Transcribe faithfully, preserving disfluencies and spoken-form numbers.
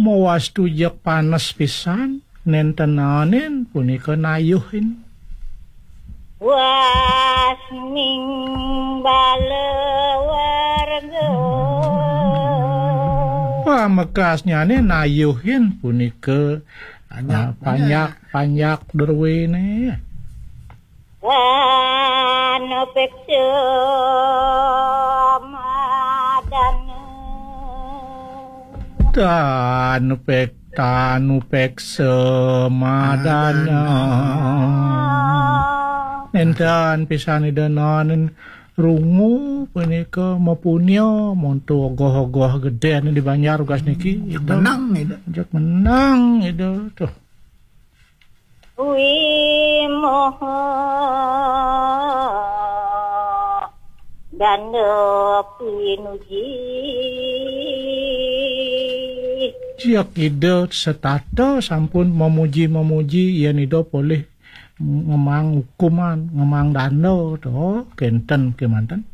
Mawastu jeg panes pisan, nénten naenin punika nayuhin. Wasming bala warga. Pamekasnyané nayuhin punika, panjak, ah, panjak, panjak druéné. Anu peksa madana. Tanu pek, tanu peksa madana. Nénten pisan Ida naenin rungu punika mapunia monto ogoh-ogoh gedén di Banjar ugas niki. Ida menang, Ida. Jeg menang, Ida. Tuh. Wimoho danda pinuji. Jeg Ida setata sampun memuji-memuji yén Ida polih ngemang hukuman, ngemang danda, tuh, kénten kémanten.